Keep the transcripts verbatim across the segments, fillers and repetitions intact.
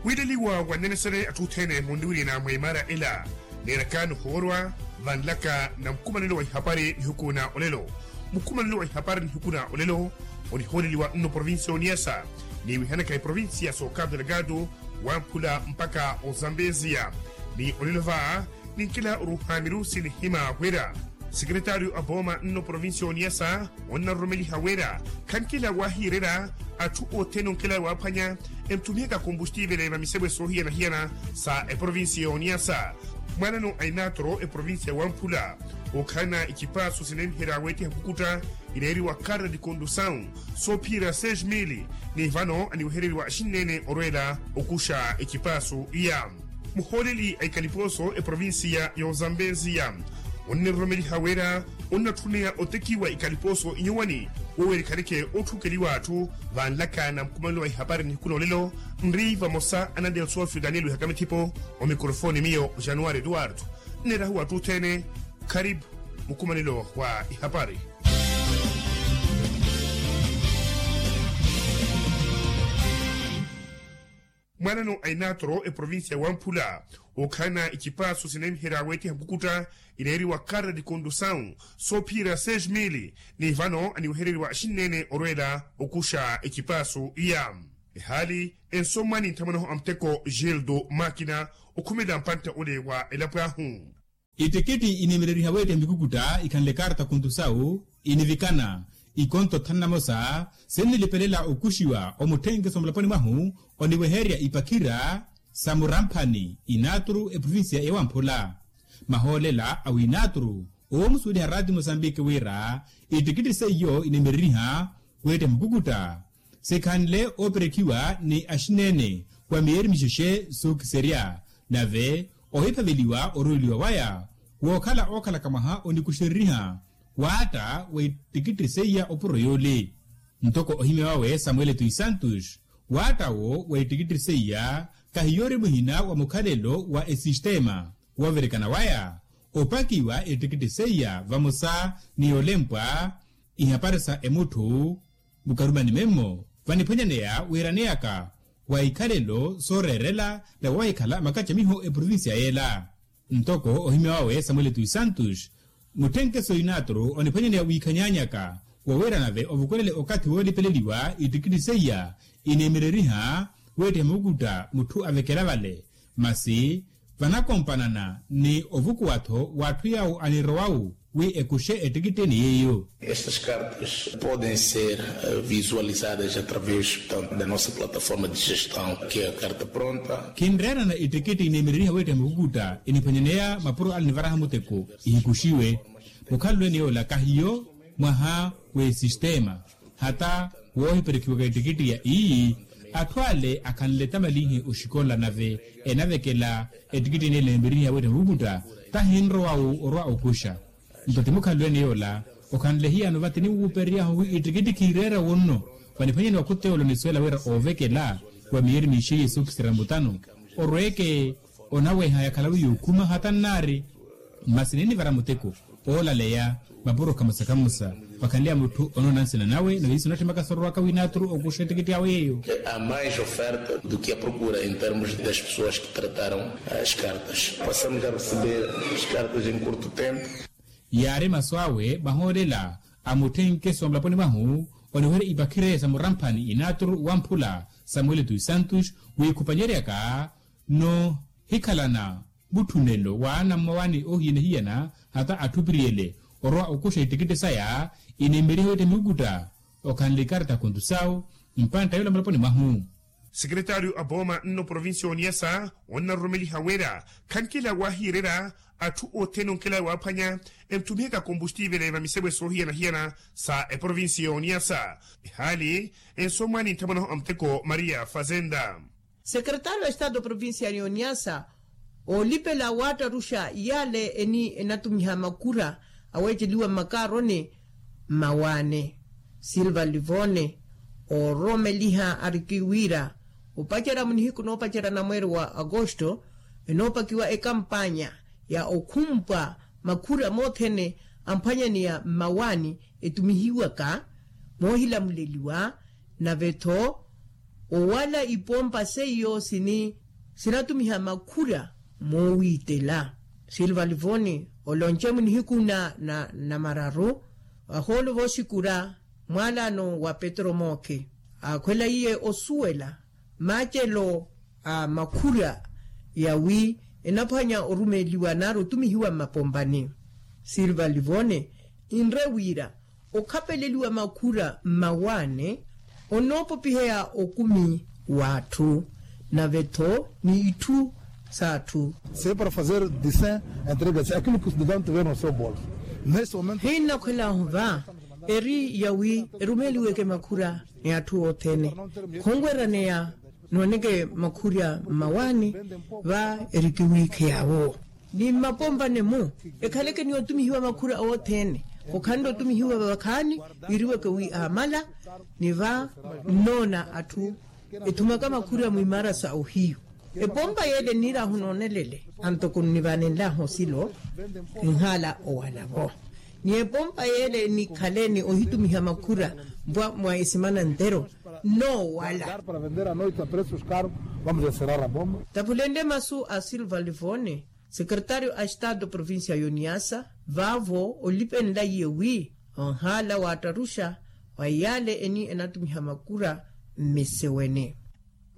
Wiileliwa wannenesele atthu othene munniwirina mwa imara ela. Neeraka nihoorwa vanlaka na mukumanelo wa ihapari nihiku na olelo. Mukumanelo wa ihapari nihiku na olelo onihooleliwa nno provincia ya oniasa, niwihanaka eprovincia ya soka delgado, wamphula mpaka ozambezia. Ni olelo va ninkela oruuha mirusi nihima wira sekeretaryo a booma nno provincia ya oniasa onnaroromeliha wira khankela wahiirerya atthu othene onkela waaphwanya entthumihaka kombustiivele va misebwe soohiyana-hiyana sa eprovincia ya oniasa. Mwaanano a inatoro eprovincia ya wamphula okhalana icipaaso sineemiherya weetiha nkukutta ineeriwa karta di kondusawu soophiyerya seis mili, ni vano aniwehereriwa axinneene orweela okuxa ecipaaso iya. Muhooleli a ikalipooso eprovincia ya ozambezia onneroromeliha wira onnatthuneya otekiwa ikalipooso inyuwani woweerikhaneke ootthukeliwa atthu. Vanlaka na mukumanelo wa ihapari nihiku na olelo nri vamosa anandeya osuwa afrika aniiluhaka mithipo. Omikrofooni miyo januari eduwardo nneerahuwa atthu othene. Kharipu mukumanelo wa ihapari. Mwaanano a inatoro eprovincia ya wamphula okhalana icipaaso sineemiherya weetiha nkukutta ineeriwa karta di kondusawu soophiyerya seis mili, ni vano aniwehereriwa axinneene orweela okuxa ecipaaso iya. Ehaali ensomwa ni nthamwanaho a muteko gildo makina okhumela mpantte ole wa elapo ahu. Ittikitti ineemereriha weettiha mikukutta ikhanle karta kondusawu inivikana ikonto tthanu na mosa sinnilipelela okuxiwa omutthenkeso mulaponi mwahu oniwehererya ipakhira sa muramphani inaturu eprovincia ya wamphula. Mahoolela a winaturu oomusuweliha raati mosambiki wira ittikitti seiyo ineemereriha weettiha mikukutta sikhanle ooperekhiwa ni axinneene wa miyeeri mixexe sookiserya nave ohiphaveliwa oroweliwa waya wookhala ookhalaka mwaha onikuxereriha waatta wa ittikitti seiya opuro yoole. Ntoko ohimya wawe samuel tui santos waatta wo wa ittikitti seiya kahiyoori muhina wa mukhalelo wa esistema wooverekana waya opakiwa ittikitti seiya vamosa ni yolempwa ihapari sa emutthu mukarumani memmo vaniphwanyaneya wiiraneyaka wa ikhalelo sooreerela na wahikhala makacamiho eprovincia yeela. Ntoko ohimya wawe samuel tui santos mutthenkeso inaturu oniphwanyaneya wiikhanyanyaka wowira nave ovukulele okathi woolipeleliwa ittikitti seiya ineemereriha weettiha mukukutta mutthu avekela vale masi vanakompanana ni ovukuwa-tho w'atthu yawo anirowawu wi ekuxe ettikittini yeiyo. Estas cartas podem ser visualizadas através da nossa plataforma de gestão que é a carta pronta. Khinreerana ettikitti ineemereriha weettiha mukukutta iniphwanyaneya mapuro ale nivaraha muteko ihikuxiwe mukhalulweni yoola kahiyo mwaha w'esistema hata woohiperekhiwaka ettikitti ya iyi atthu ale akhanle tamalinhe oxikola nave enavekela ettikitti ene eneemerihiha weettha mukukutta tahinrowawu orwa okuxa. Nto ti mukhalelo ene yoola okhanle hiyano vate niwuupereryahu wi ettikitti khiireera wonno vaniphwanyeni wa khuteyolo nisuwela wira oovekela wa miyeeri miixeiye sookisira mutano orweeke onaweha yakhala wi yookhuma hata nnaari. Masi ninnivara muteko oolaleya mapuro kamosa kamosa vakhanleya mutthu onoona nsina nawe nave isu natthimaka sorowaka wi naaturu okuxa ettikitti awe yeeyo. A mais oferta do que a procura em termos das pessoas que trataram as cartas passamos a receber as cartas em curto tempo. Yaari masu awe mahoolela a mutthenkeso wa mulaponi mwahu oniwerya ipakhire sa muramphani inaaturu wamphula samuel tui santos wiikhupanyeryaka noohikhalana mutthunelo w'ana mmawani oohiyana-hiyana hata atthu opiriyele orwa okuxa ittikitti saya ineemeriha weettha mikukutta okhanle ikarta kontusawu mpantta yola mulaponi mwahu. Sekeretaryo a booma nno provincia ya oniasa onnaroromeliha wira khankela waahiirerya atthu othene onkela waaphwanya entthumihaka kombustiivele va misebwe soohiyana-hiyana sa eprovincia ya oniasa. Ehaali ensomwa ni nthamwanaho a muteko maria fazenda. Sekeretaryo a estado provincia ya oniasa oolipela waattaruxa yaale eni enatumiha makura aweeceliwa mmakaaroni mmawaane silva livone oororomeliha ariki wira opacerya munihiku noopacerya na mweeri wa agosto enoopakiwa ekampanya ya okhumpwa makhura moothene amphwanyaniya mmawaani etumihiwaka moohilamuleliwa nave-tho owala ipompa seiyo sini sinatumiha makhura moowiitela. Silva livoni olonce munihiku na namararu ahoolo voosikura mwaalano wa petro mooke aakhwela iye osuwela maacelo a makhura yawi enaphwanya orumeeliwa nari otumihiwa mmapompani. Silva livone inre wira okhapeleliwa makhura mmawaane onoopopiheya okumi w'atthu nave-tho ni itthu s'atthu. Separa fazer de cem entregas aquilo que os devem tiver no seu bolso. Nesse momento hinnakhwel'ahu va eri yawi erumeeliweke makhura ni atthu othene khonweryaneya nooneke makhurya mmawaani va erikiwiikheya-wo ni mmapompani-mu ekhaleke ni otumihiwa makhurya othene khokhanle otumihiwa vakhaani. Wiiriweke wi aamala ni va nnoona atthu ethumaka makhurya mwimaara sa ohiyu. Epompa yeele nniir'ahu noonelele antoko nnivanenl'ahu osilo nhaala owala-vo ni epompa yeele nikhale ni ohitumiha makhura mpwa mwa esimana ntero nnoowala. Tapulende masu a silva livone sekretario a estado provincia y'oniasa vaavo olipenlaiye wi onhaala waattarusha wa yaale eni enatumiha makhura mmiseweni.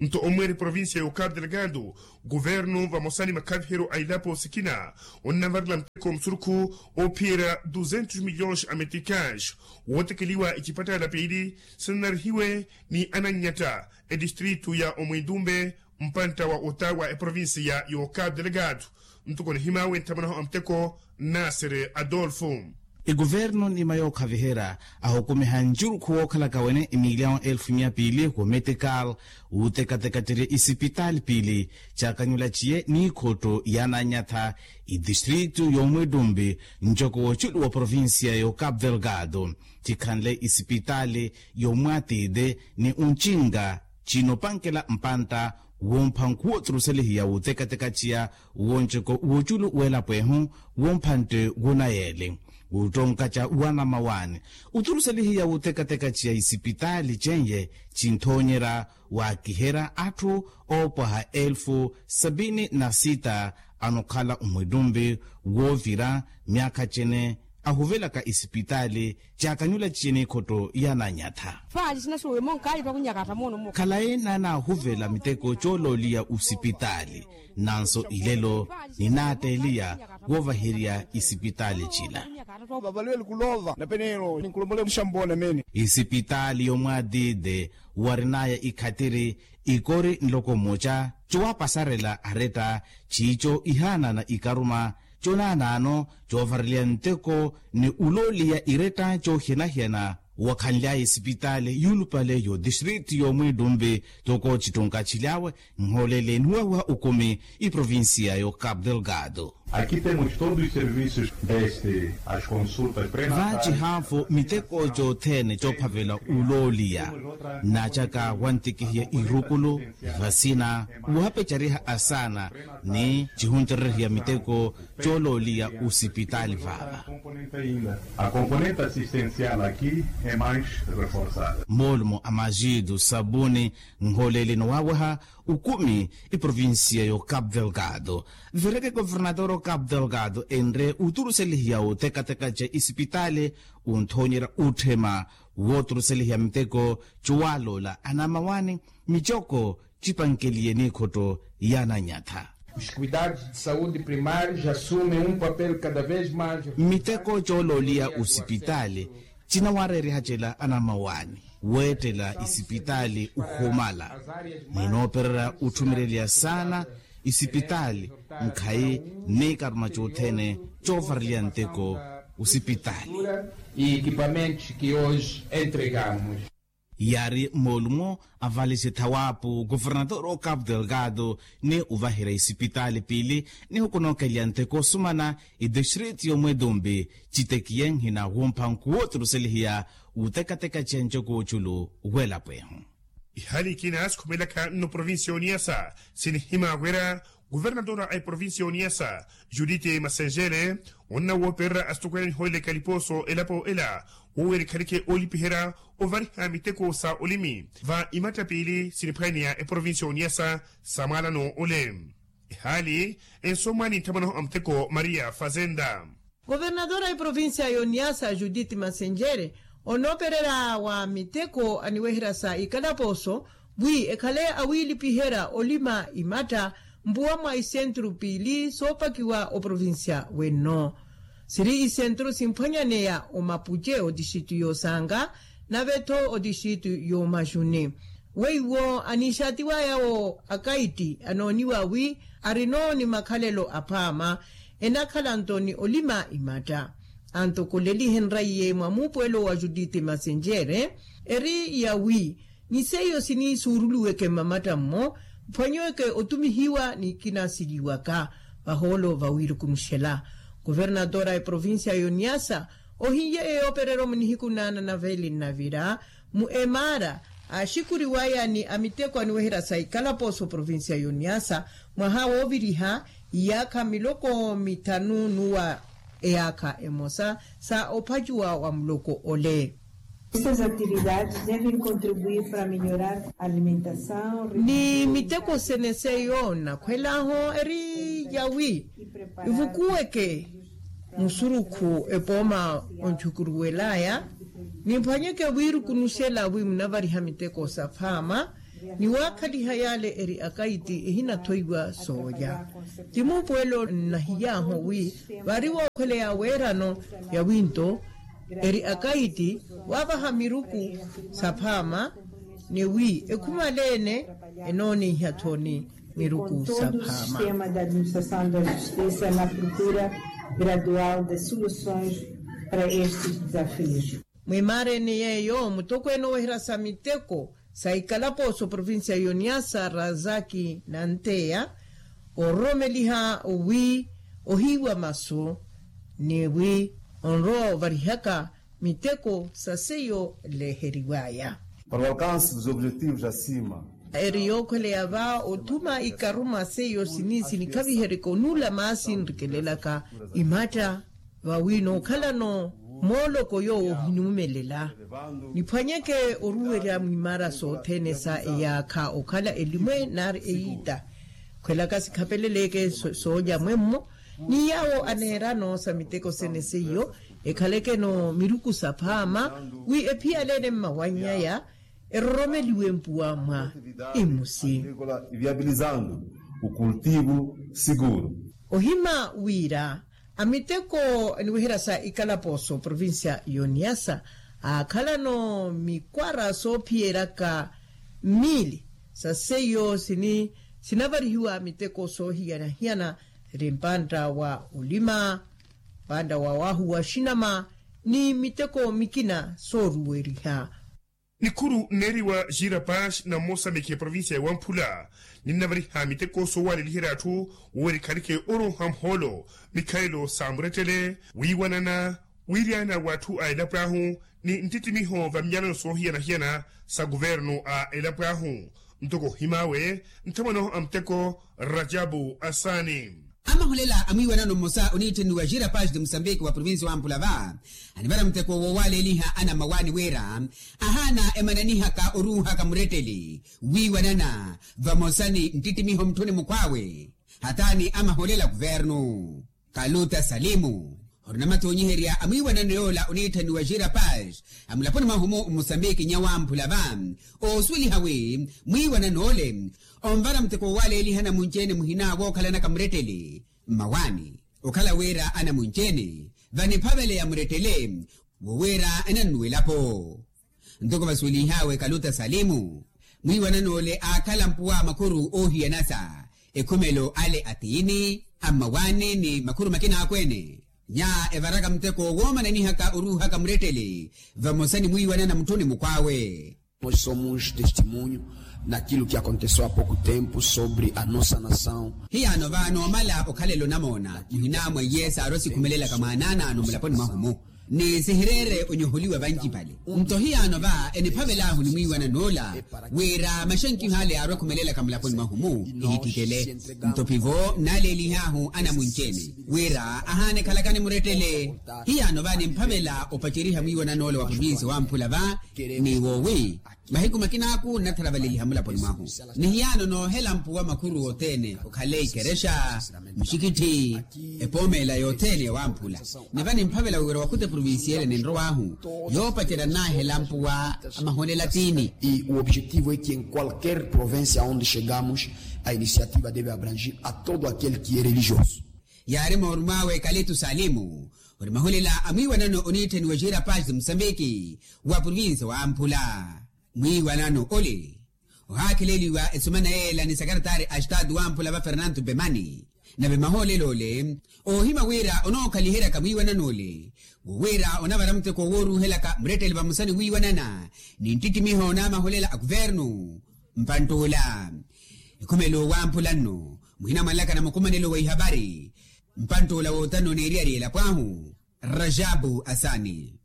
Nto omweeri provincia y'okapu delgado guvernu vamosa ni makhaviheryo a ilapo sikina onnavalela muteko musurukhu oophiyerya duzentos milhões americains wootekeliwa icipattala piili sinanarihiwe ni anannyatta etistritu ya omwintumbe mpantta wa ota wa eprovincia y'okapu delgado. Ntoko nihimaawe nthamanaho a muteko nasere adolfo. Ekuvernu nima yookhaviherya ahukumiha ncurukhu wookhalaka wene emilyawo elfu mia piili kumetikal wuutekateka ttirye isipitaali piili caakanyula ciye n'ikhotto yaananyatha itistritu y'omwittumpi ncoko w'oculu wa provincia y'okapu delgado cikhanle isipitaali y'omwatite ni uncinka cinopankela mpantta wompha nkhuwo tturuselihiya wuutekateka ciya wonceko w'oculu w'elapo ehu womphantte wunayele wuttonkaca wanamawaani utturuselihiya wuutekateka ciya isipitaali cenye cinthoonyerya waakiherya atthu oopwaha elfu sabini na sita anokhala omwittumpi woovira myaakha cene ahuvelaka isipitaali caakanyula ciye n'ikhotto yaananyatha. Khalayi naanaahuvela miteko coolooliya usipitaali nanso ilelo ninaatteeliya woovaherya isipitaali cila. Isipitaali y'omwaatite warinaya ikhattiri ikori nloko mmoca cowaapasarela aretta ciico ihaanana ikaruma conaanaano coovareliya nteko ni ulooliya iretta coohiyana-hiyana wakhanly'aya esipitaali yuulupale y'otistritu y'omwiittumpi toko cittunka cilyawe nhoolele niwawiha okumi iprovincia y'okapu delgado. Aqui temos todos os serviços desde as consultas pré-natais. Vaaci haavo miteko cothene coophavela ulooliya naacaka wantikihiya irukulu vasina wuhapecariha asaana ni cihuncererehiya miteko coolooliya usipitaali vaava. A componente assistencial aqui é mais reforçada. Moolumo a majitu sabuni nhoolele nowaaweha ukumi iprovincia y'okapu delgado vireke governador okapu delgado enre uturuselihiya utekateka ca isipitaali unthoonyerya utthema wooturuselihiya miteko cowaaloola anamawaani micoko cipankeliye n'ikhotto yaananyatha. Os cuidados de saúde primários assumem um papel cada vez mais miteko coolooliya usipitaali cinawareeriha cela anamawaani weettela isipitaali ohumala ninoopererya utthumereliya saana isipitaali nkhayi n'ikaruma cothene coovareliya nteko usipitaali. E equipamentos que hoje entregamos. Yaari moolumo avalisi thawaapu governador okapu delgado ni ovaherya isipitaali piili ni hukunookeliya nteko osumana itistritu y'omwetumbi citekiye nhina wumpha nkuwo oturuselihiya wutekateka ciya ncoko w'oculu w'elapo ehu. Ihali ikina sikhumelaka nno provincia y'oniyasa sinihimaawerya Kuvernatora a eprovincia y'oniyasa, judite masenjere, onna woopererya asitokweya nihooleleke alipooso elapo ela, woowera ekhaleke oolipiherya ovariha miteko sa olimi va imatta piili siniphwaneya eprovincia y'oniyasa sa mwaalano ole. Ehaali ensomwaani nthamwanaho a muteko maria fazenda. Governadora a eprovincia y'oniyasa judith masenjere, onoopererya wa miteko aniweherya sa ikalaposo wi ekhale awiilipiherya olima imatta mpuwa mwa isenturu piili soopakiwa oprovincia wenno. Siri isenturu simphwanyaneya omapuce otixitu y'osanga nave-tho otixitu y'omaxuni. Weiwo aniixaatiwaya wo akaiti anooniwa wi arino ni makhalelo aphaama enakhala nto ni olima imatta. Antokolelihenraiye mwa muupuwelo wa judith masenjere eri yawi ni seiyo siniisuuruliweke mmamatta mmo mphwanyiweke otumihiwa ni kinasiliwaka vahoolo vawiirukunuxela. Kuvernatora a eprovincia y'oniyasa ohiye eyoopereryo munihiku naana na veeli nnavira mu emaara aaxikuriwaya ni amiteko aniweherya sa ikalaposo provincia y'oniyasa mwaha wooviriha iyaakha miloko mithanu nuwa eyaakha emosa sa ophacuwa wa muloko ole. Estas atividades devem contribuir para melhorar a alimentação ni miteko sene seiyo nnakhwel'ahu eri yawi ivukuweke musurukhu epooma onthukuruwel'aya. Nimphwanyeke wiirukunuxela wi munavariha miteko saphaama ni waakhaliha yale eri akaiti ehinathoiwa soolya. Ti muupuwelo nnahiy'ahu wi vari wookhweleya weerano yawi nto eri akaiti waavaha miruku saphaama ni wi ekhumaleene enooniiha-tho ni miruku saphaama. Sistema da administração da justisa na procura gradual de soluções para estes desafios. Mwimaareni yeeyo mutokweene oweherya sa miteko sa ikalaposo provincia y'oniyasa razaki nanteya ororomeliha wi ohiiwa masu ni wi onrowa ovarihaka miteko sa seiyo leeheriwaya. Para o alcance dos objetivos acima. Eri yookhweleya va othuma ikaruma seiyo sini sinikhaviheryeke onuula maasi nrikelelaka imatta vawi nookhalano mooloko yoowo ohinimumelela. Niphwanyeke oruwerya mwimaara sothene sa eyaakha okhala elimwe nari eyiita khwelaka sikhapeleleke soolya mwemmo ni yaawo aneerano sa miteko sene seiyo ekhalekeno miruku saphaama wi ephiyaleene mmawanny'aya eroromeliwe mpuwa mwa imusi. Viabilizando o cultivo seguro. Ohima wira amiteko aniweherya sa ikalaposo provincia y'oniyasa aakhalano mikwara soophiyeryaka mmiili sa seiyo sini sinavarihiwa miteko soohiyana-hiyana siri mpantta wa olima mpantta wa waahu wa xinama ni miteko mikina sooruweriha. Nikhuru nneeriwa jira pash na mmosamiki eprovincia ya wamphula ninnavariha miteko soowaleliherya atthu wowerikhanike orooha muhoolo mikhalelo sa murettele wiiwanana wiiryaana w'atthu a elapo ahu ni ntittimiho va minyalano soohiyana-hiyana sa kuvernu a elapo ahu. Ntoko ohim'awe nthamwanahu a muteko rajabu asaani. Amahulela a mwiiwanano mmosa oniittheniwa jira pash de musambiki wa provincia wa mpula va anivara muteko woowaleliha anammawaani wira ahaana emananihaka oruuhaka muretteli wiiwanana vamosa ni nttittimiho mutthuni mukhw'awe hataani amahulela kuvernu. Kaluta salimu orina matoonyiherya a mwiiwanano yoola oniitthaniwa jira pash a mulaponi mwahu-mu mmusambiki nyawamphula va oosuweliha wi mwiiwanano ole onvara muteko woowaleeliha anamunci-ene muhina wookhalanaka muretteli mmawaani okhala wira anamunci-ene vaniphaveleya murettele wowira enannuwelapo. Ntoko vasuwelih'awe kaluta salimu mwiiwanano ole aakhala mpuwa makhuru oohiyanasa ekhumelo ale atiini ammawaani ni makhuru makina akweene nya evaraka muteko woomananihaka oruuhaka murettele vamosa ni mwiiwanana mutthuni mukhw'awe. Nós somos testemunho naquilo que aconteceu há pouco tempo sobre a nossa nação. Hiyaano vaano omala okhalela onamoona muhina mwa iye saari osikhumelelaka mwaanaanaano mulaponi mwahu-mu. Ni sihireere onyoholiwa vancipale. Nto hiyaano va eniphavel'ahu ni mwiiwanan'ola wira maxankiho ale yaarwa ekhumelelaka mulaponi mwahu-mu ehittikele. Nto pivo nnaaleelih'ahu anamunci-ene wira ahaana ekhalaka ni murettele. Hiyaano va nimphavela opaceriha mwiiwanan'ola wa provincia wamphula va ni woowi mahiku makina aku nnatharavaleliha mulaponi mwahu. Ni hiyaano noohela mpuwa makhuru othene okhale ikerexa, muxikitthi, epooma ela yothene yawamphula. Ni va nimphavela wira wakhuta eprovincia ele ninrow'ahu yoopacerya nnaahela mpuwa a maholela tiini. E o objetivo é que em qualquer província onde chegamos a iniciativa deve abrangir a todo aquele que é religioso. Yaari moorum'awe kalitu salimu ori maholela a mwiiwanano oniitthaniwa xira paz de musambiki wa provincia wamphula. Mwiiwanano ole ohaakheleliwa esumana yeela ni sakaratari a estatu wamphula va fernanto bemani. Nave mahoolelo ole oohimya wira onookhaliheryaka mwiiwanano ole wo wira onavara muteko wooruuhelaka muretteli vamosa ni wiiwanana ni nttittimiho n'amaholela a kuvernu. Mpantt'ula ekhumelo wamphula nno muhina mwanlaka na mukumanelo wa ihavari. Mpantt'ula wootano neeriyari elapo ahu rajabu asani.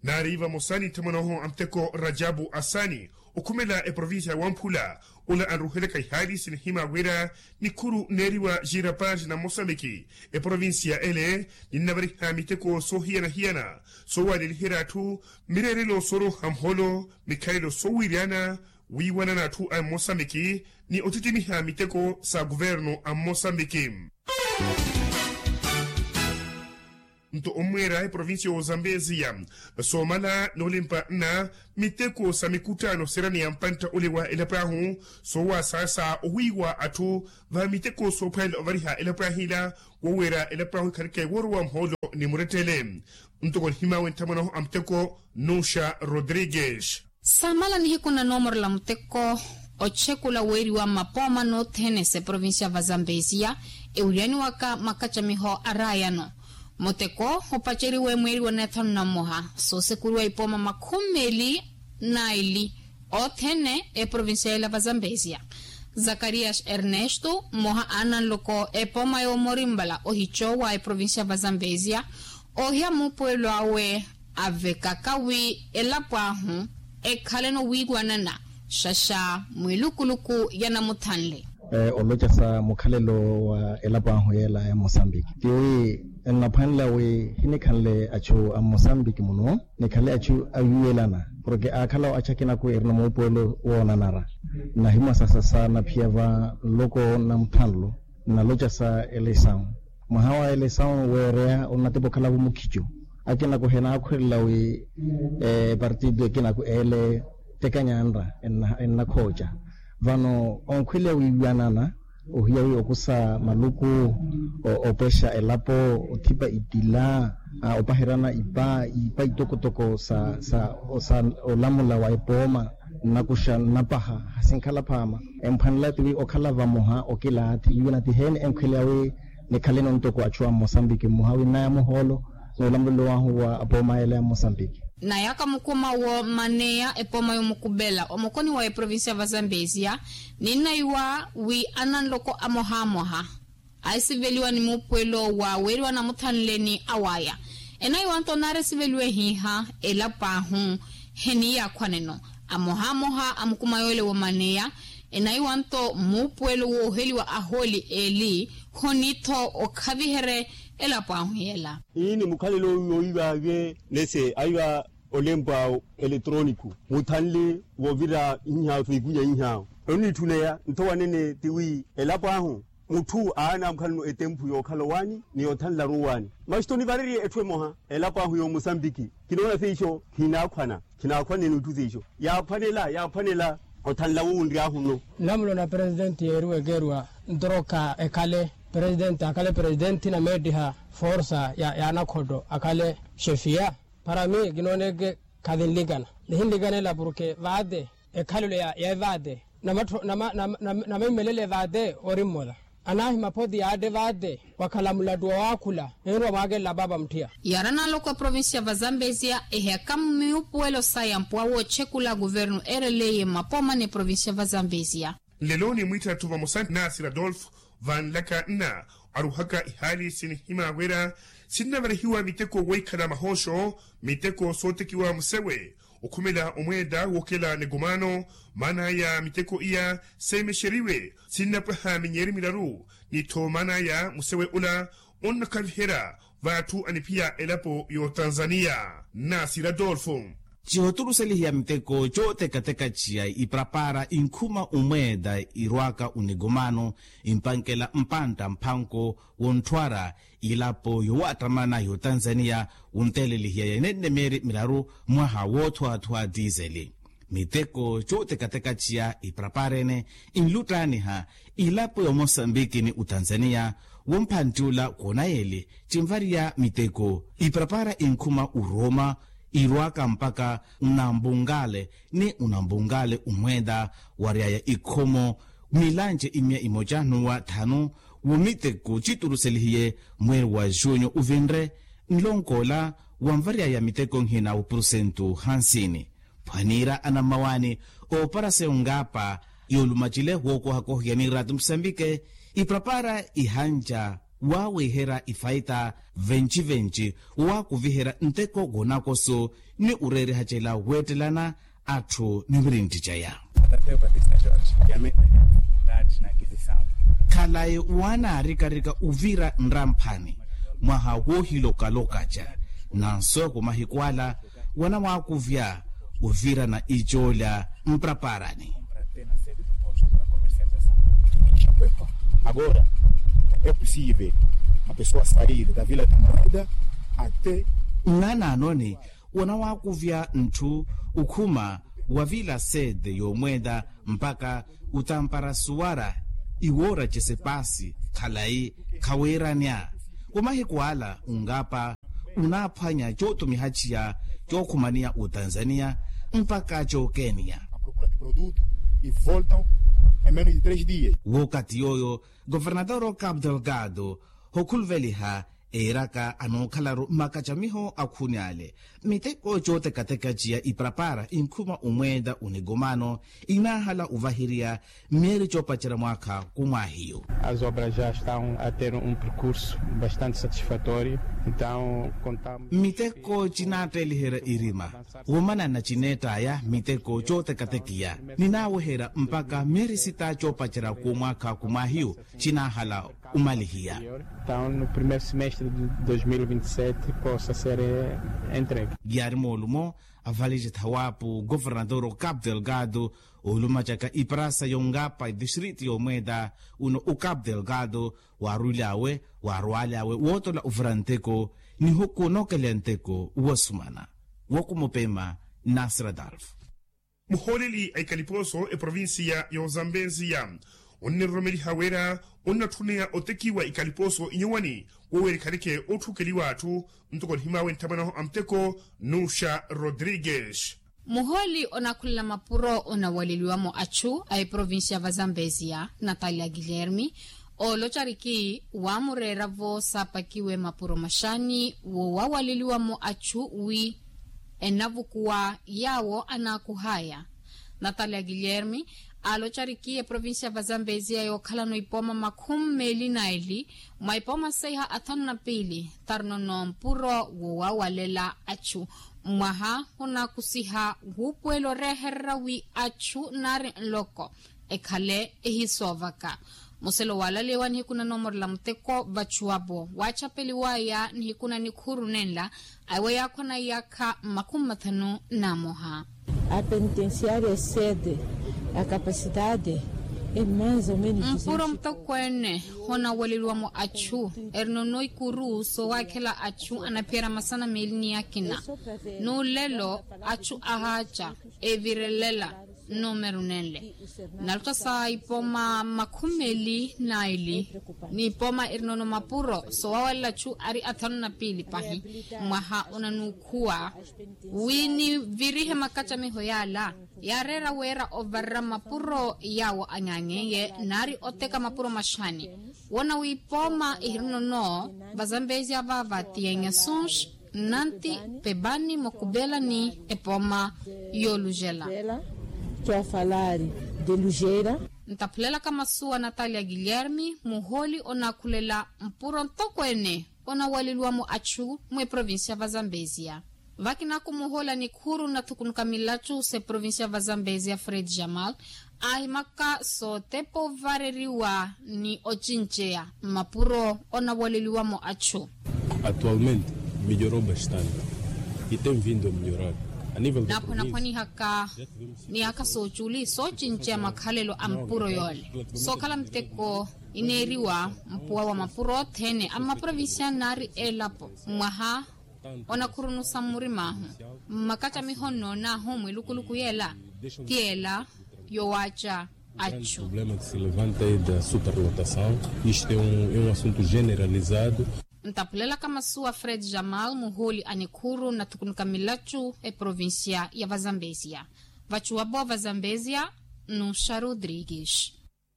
Naari vamosa ni nthamwan'ahu a muteko rajabu asani okhumela eprovincia ya wamphula. Ola anruhelaka ihaali sinihima wira nikhuru neeriwa xira paaxi na mosambiki eprovincia ele ninnavariha miteko soohiyana-hiyana soowaleliherya atthu mireerelo sooroha muholo mikhalelo soowiryana wiiwanana atthu a mosambiki ni ottittimiha miteko sa kuvernu a mosambiki. Nto ommweera eprovincia y'ozambeziya soomala noolimpa nna miteko sa mikuttaano sirani ya mpantta ole wa elapo ahu soowasaasa owiiwa atthu va miteko soophwanela ovariha elapo ahila woweera elapo ahu ikhaleke woorowa muhoolo ni murettele. Ntoko nihimawe nthamwanahu a muteko nusha rodrigues. Saamala nihiku na noomorela muteko ochekula weeriwa mmapooma nothene s'eprovincia va zambesia ewiriyaniwaka makacamiho a raayano. Muteko opaceriwe mweeriwa neethanu na mmoha soosekuriwa ipooma makhumi meeli na eli othene eprovincia ela va zambesia. Zakarias ernesto mmoha a nanloko epooma yoomorimbala ohicowa eprovincia va zambesia oohiya muupuwelo awe avekaka wi elapo ahu ekhaleno wiiwanana xaxa mwilukuluku ya namuthanle. Olocasa mukhalelo wa elapo ahu yeela ya mosambiki tiwi nnaphwanela wi hinikhanle achu a mosambiki muno nikhale achu awiwelana porke aakhala achu akinaku erina muupuwelo woonanara. Nnahimwasasasa naphiya va nloko namuthanlo nnalocasa elesawu mwaha wa elesawu weereya onnatepa okhalaku mukhico akinaku henaakhwelela wi epartido ekinaku eele tekanyanra ennakhooca vano onkhweleya wiiwanana ohiya wi okusa maluku opwexa elapo othipa itila opaherana ipa ipa itokotoko sa olamula wa epooma nnakuxa nnapaha hasinkhala phaama emphwanela tiwi okhala vamoha okilaathi wiiwanana tiheeni enkhweleya wi nikhaleno ntoko achu a mosambiki mmoha wi nnaya muhoolo n'ulamulelo wahu wa apooma ela ya mosambiki. Nayaka mukuma wo maneya epooma yomukupela omokoni wa eprovincia va zambesia ninnaiwa wi ananloko amohamoha aisiveliwa ni muupuwelo wa weeriwa namuthanle ni awaya enaiwa nto naari esiveliwe hiiha elapo ahu heniiyaakhwaneno amohamoha a mukuma yoole wa maneya enaiwa nto muupuwelo wooheliwa ahooli eli khonitho okhaviherye elapo ahu yela. Ii ni mukhalelo yoowiiva awe nese aiva olempo awo eletroniko muthanle woovira inhaawo feikunya inhaawo onnitthuneya ntho wanene tiwi elapo ahu mutthu aana mukhalano etemphu yookhala owaani ni yoothanlaru owaani maxito nivarerye etthu emoha elapo ahu yoomosambiki kinoona siiso khinaakhwana khinaakhwanene itthu siiso yaaphwanela yaaphwanela othanla wo wunry'ahu nno. Nlamulo na presidenti yeeriwa ekeeriwa ntroka ekhale presidenti akhale presidenti na meettiha forsa ya anakhotto akhale xefiya para mi kinooneke khatinlikana nihinlikanela porke vaate ekhalelo ya evaate namaimelele evaate ori mmola anaahimaphoti yaatte vaate wakhala mulattu wa waakhula ninrwa mwaakelela paapa mutthiya. Yaari analoko eprovincia va zambesia ehiyaka mmiupuwelo saya mpuwa wootchekula kuvernu eereleiye mmapooma n'eprovincia va zambesia. Nlelo ni mwiitthatthu vamosa naasiri adolfo Vanlaka nna aruhaka ihaali sinihima wira sinnavarihiwa miteko woikhala mahooxo, miteko sootekiwa musewe, okhumela omweeda wookela nikomaano. Maana aya miteko iya seemexeriwe sinnapwaha minyeeri milaru, ni-tho maana aya musewe ola onnakhaviherya v'atthu aniphiya elapo y'otanzaniya. Nasi radolfo. Cihotturuselihiya miteko cootekateka ciya iparapara inkhuma umweeda irwaka unikomaano, impankela mpantta mphanko wontthuwara ilapo yowaattamana y'otanzaniya wunteelelihiya yenennemeeri milaru mwaha woothuwathuwa tiiseli. Miteko cootekateka ciya iparapara ene inluttaaniha ilapo y'omosambiki ni utanzaniya. Womphantti ula koonayeeli cinvariya miteko iparapara inkhuma urooma irwaka mpaka unambunkale ni unambunkale umweeda waryaya ikhomo milanci imiya imoca nuwa thanu. Womiteko citturuselihiye mweeri wa junyo uvinre nlonko ola wanvaryaya miteko nhina wa purusentu hansini. Phwaniira anammawaani ooparaseya ongaapa yoolumacile wookohakohiya ni raati musambike iparapara ihanca waawiherya ifaita venci-venci woowakuviherya nteko woonakoso ni ureerihacela weettelana atthu ni mirintti caya. Khalayi waanaarikarika uvira nramphani mwaha woohilokalokaca nanso ku mahiku ala wanawaakuvya ovirana icoolya mparaparani. Agora é possível a pessoa sair da vila da moeda até. Nnanaanoni wanawaakuvya ntthu ukhuma wa vila sede y'omweeda mpaka utampara suwara iwoora cesepasi khalayi khawiiranya. Wa mahiku ala ungaapa unaaphwanya cootumihaciya cookhumaniya otanzaniya mpaka cookeniya. Wookathi yooyo governador okapu delgado hookhuluveliha eeraka anookhalaru makacamiho akhuni ale miteko cootekateka ciya iparapara inkhuma umweeda unikomaano inaahala ovahiriya mmeeri coopacerya mwaakha kumwaahiyu. As obras já estão a ter um percurso bastante satisfatório. Então contamos miteko cinaatteeliherya irima womanana cineett'aya miteko cootekatekiya ninaaweherya mpaka mmeeri sita coopacerya kumwaakha kumwaahiyu cinaahala umalihiya. Então no primeiro semestre de dois mil e vinte e sete possa ser entregue. Yaari moolumo avalici thawaapu governador okapu delgado oolumacaka iparasa yongapa distrito yomweeda uno okapu delgado waarwilyawe waarwalyawe wootola ovira nteko nihuku nookeleya nteko wosumana. Wokumupema nasira dalfu. Muhooleli a ikalipooso eprovincia y'ozambensia onniromereliha wira onnatthuneya otekiwa ikalipooso inyuwani woweerikhaleke otthukeliwa atthu ntoko nihimaawe nthamanaho a muteko nuxa rodrigues. Muhooli onakhulela mapuro onawaleliwamo achu a eprovincia va zambezia natalia guilherme oolocariki waamureeravo saapakiwe mapuro maxaani wo wawaleliwamo achu wi enavukuwa yaawo anaakuhaya. Natalia guilherme aalocariki eprovincia va zambezia yookhalano ipooma makhumi meeli na eli mwa ipooma seiha athanu na piili tarinono mpuro wo wawalela achu mwaha hunaakusiha wuupuwela oreehererya wi achu naari nloko ekhale ehisoovaka. Muselo waalalewa nihiku nanoomorela muteko vachuwapo waachapeliwaya nihiku na nikhuru nenla awe yaakhwa na iyaakha makhumi mathanu na moha. A penitenciaria sede a capacidade e mais ou menos mpuro mutokweene honawaleliwamo achu erinono ikuru soowaakhela achu anaphiyerya masana meeli ni akina n'ulelo achu ahaaca evirelela nnumeru nenle nalotta sa ipooma makhumi meeli na eli n'ipooma erinono mapuro soowawalela achu ari athanu na piili pahi mwaha onanuukhuwa wi nivirihe makacamiho yaala yaareera wira ovarerya mapuro yaawo anyaanyeiye naari oteka mapuro maxaani woona wi ipooma ihirinono vazambeezia vaava tiyengesons nanti pebani mokupelani epooma yoolujela. Twaafalari de lujeira. Ntaphulelaka masuwa natalia guilherme muhooli onaakhulela mpuro ntokweene onawaleliwamo achu mweprovincia va zambezia. Vakinaku muhooli anikhuru nathukunuka milachu s'eprovincia va zambezia fred jamal aahimaka sootepa ovareriwa ni ocinceya mmapuro onawaleliwamo achu. Atualmente melhorou bastante e tem vindo a melhorar a nível da província. Naaphwanaphwanihaka miyaakha sooculi soocinceya makhalelo a mpuro yoole sookhala miteko ineeriwa mpuwa wa mapuro othene a mmaprovincia naari elapo mwaha onakhurunusa mmurim'ahu mmakacamiho nnoon'ahu mwilukuluku yeela ti ela yowaaca achu. Problema que se levanta é da superlotação. Isto é um assunto generalizado. Ntaphulelaka masuwa fred jamal muhooli a nikhuru nathukunuka milachu eprovincia ya vazambezia. Vachuwapo vazambezia nuxa rodrigues.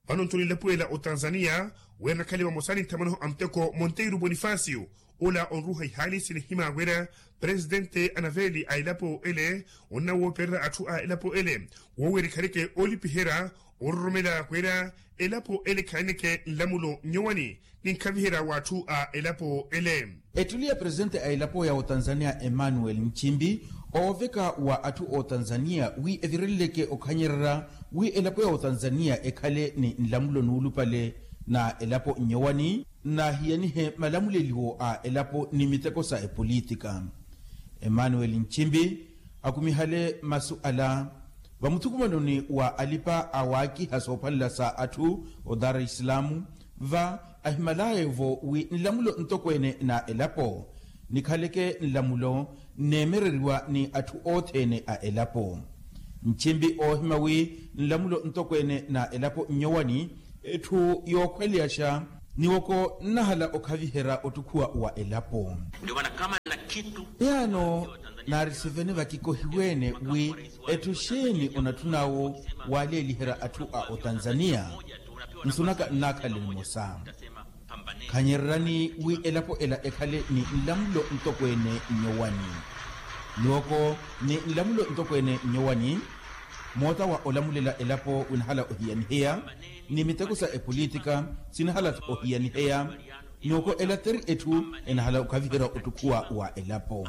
Vano ntuni nlapuwela otanzania wira nakhale vamosa ni nthamanoho a muteko monteiro bonifacio ola onruha ihaali sinihima wira presidente anaveli a elapo ele onnawoopererya atthu a elapo ele woowerikhaneke olipiherya ororomela wira elapo ele khaaneke nlamulo nyowani ni nkhaviherya w'atthu a elapo ele. Ettuli ya presente a elapo ya otanzania emmanuel nchimbi ooveka wa atthu otanzania wi evireleleke okhanyererya wi elapo ya otanzania ekhale ni nlamulo nuulupale na elapo nyowani nnahiyanihe malamuleliwo a elapo ni miteko sa epolitika. Emmanuel nchimbi akumihale masu ala vamuthukumanoni wa alipa awaakiha soophalela sa atthu o dar es salaam va ahimalaye-vo wi nlamulo ntokweene na elapo nikhaleke nlamulo nneemereriwa ni atthu othene a elapo. Nchimbi oohima wi nlamulo ntokweene na elapo nnyowani etthu yookhweleyaxa niwoko nnahala okhaviherya ottukhuwa wa elapo. Yaano naarisivene vakikohiweene wi etthu xeeni onatthun'awo waaleeliherya atthu a otanzania nsunaka nnaakhalele nimosa. Khanyereryani wi elapo ela ekhale ni nlamulo ntokweene nnyowani. Niwoko ni nlamulo ntokweene nnyowani moota wa olamulela elapo winahala ohiyaniheya ni miteko sa epolitika sinahala-tho ohiyaniheya. Niwoko ela teri etthu enahala okhaviherya ottukhuwa wa elapo.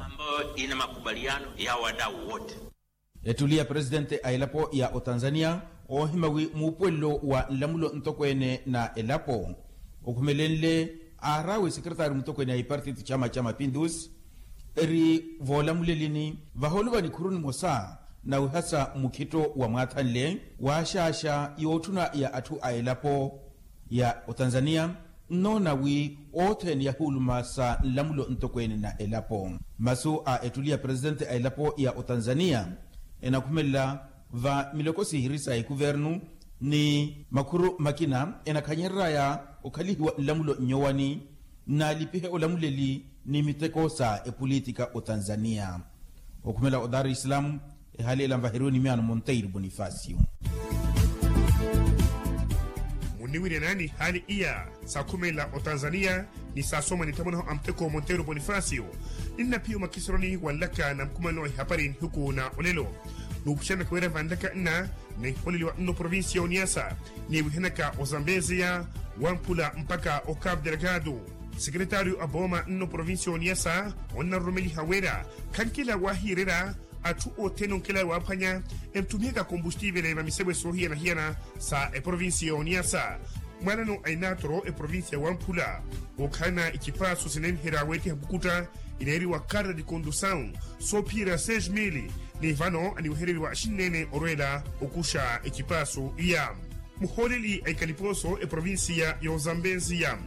Ettuli ya presitente a elapo ya otanzania oohima wi muupuwelelo wa nlamulo ntokweene na elapo okhumelenle aaraawe sekretaari mutokweene a ipartiti chama cha mapindusi eri voolamulelini vahooluva nikhuru nimosa nawihasa mukhitto wa mwaathanle waaxaaxa yootthuna ya atthu a elapo ya otanzania nnoona wi othene yahuuluma sa nlamulo ntokweene na elapo. Masu a ettuli ya presitente a elapo ya otanzania enakhumelela va miloko sihiri sa ekuvernu ni makhuru makina enakhanyereraya okhalihiwa nlamulo nnyowani nnaalipihe olamuleli ni miteko sa epolitika otanzania. Okhumela o dar es salaam ehaali ela nvaheriwe ni miyaano monteiro bonifacio. Muniwiryanani haali iya sakhumela otanzania ni saasoma ni nthamwanaho a muteko monteiro bonifacio. Ninnaphiya omakisironi wa nlaka na mukumano wa ihapari nihiku na olelo nuupuxanaka wira vanlaka nna niholeliwa nno provincia ya oniasa niwihanaka ozambeziya wamphula mpakha o cape delgado. Sekretario a booma nno provincia ya oniasa onnaroromeliha wira khankela wahiirerya atthu othene onkela waaphwanya entthumihaka kombustiivele va misewe soohiyana-hiyana sa eprovincia ya oniasa. Mwaanano a inaatoro eprovincia ya wamphula okhalana icipaaso sinenherya weetiha kukutta ineeriwa carta de condução soophiyerya seis mil ni vano aniwehereriwa xinneene orweela okuxa ecipaaso iya. Muhooleli a ikalipooso eprovincia ya ozambeziya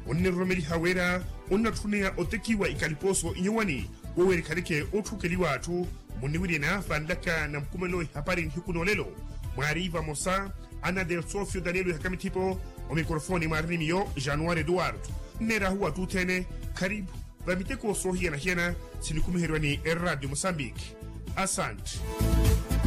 onneroromeliha wira onnatthuneya otekiwa ikalipooso inyuwani wowerikhaneke otthukeliwa atthu. Muniwiryana vanlaka na mukumano ihapari nihiku n'olelo mwaari vamosa ana del sofio daniel wihaka mithipo omikrofoni mwaari ni miyo januari eduardo. Nneerahu atthu othene kharipu va miteko soohiyana-hiyana sinikhumiheriwa ni eradio mosambiki. Asante.